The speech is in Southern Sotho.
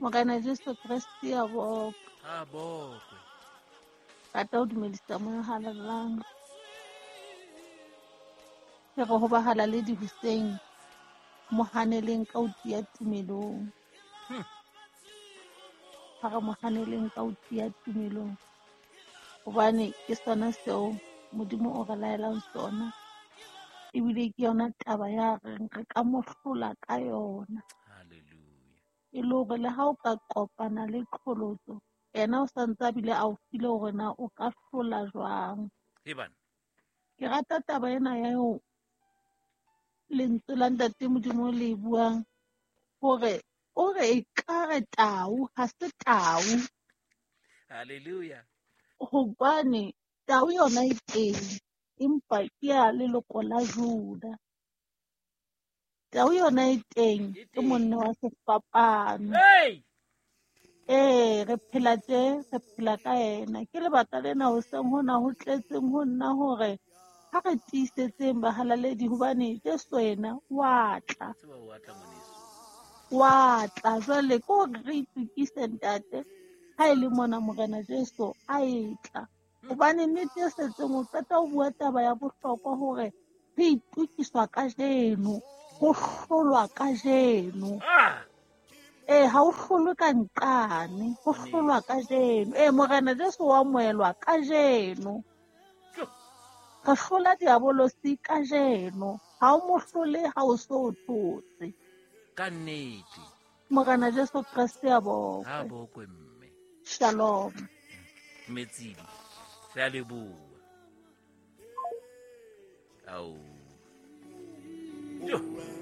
Morena Jesu Kreste a bokwe. A bokwe. Rata ho dumedisa Moya o Halalelang. Ke re ho bahalaledi hoseng, mo haneleng ka ho tiya tumelong. Ha re mo haneleng ka ho tiya tumelong. Hobane ke sona seo Modimo o re laelang sona. Ebile ke yona taba ya reng re ka mo hlola ka yona. Hallelujah. E le hore le ha o ka kopana le qholotso, yena o santse a bile a o file hore na o ka hlola jwang. Ebana. Ke rata taba ena ya ho lentswe la Ntate Modimo le buang hore o re ekare tau ha se tau. Hallelujah. Hobane tau yona e teng, empa ke ya leloko la Juda. Tau yona e teng, ke monna wa sefapano. Hey! Re phela tje, re phela ka yena. Ke lebaka lena hoseng hona ho tletseng ho nna hore ha re tiisetseng bahalaledi hobane Jesu yena wa tla. Tseba wa tla ngwaneso. Wa tla jwale ke hore re itokise ntate ha e le mona Morena Jesu a e tla. Hobane nnete e setseng o qeta ho bua taba ya bohlokwa hore re itokiswa kajeno, ho hlolwa kajeno. Ha o hlolwe ka nqane, ho hlolwa kajeno. Morena Jesu wa amohelwa kajeno. Re hlola diabolosi kajeno. Ha o mo hlole ha o so o thotse. Ka nnete. Morena Jesu Kreste a bokwe. Ha bokwe mme. Shalom. Metsing. Re a leboha. Ao. Jo.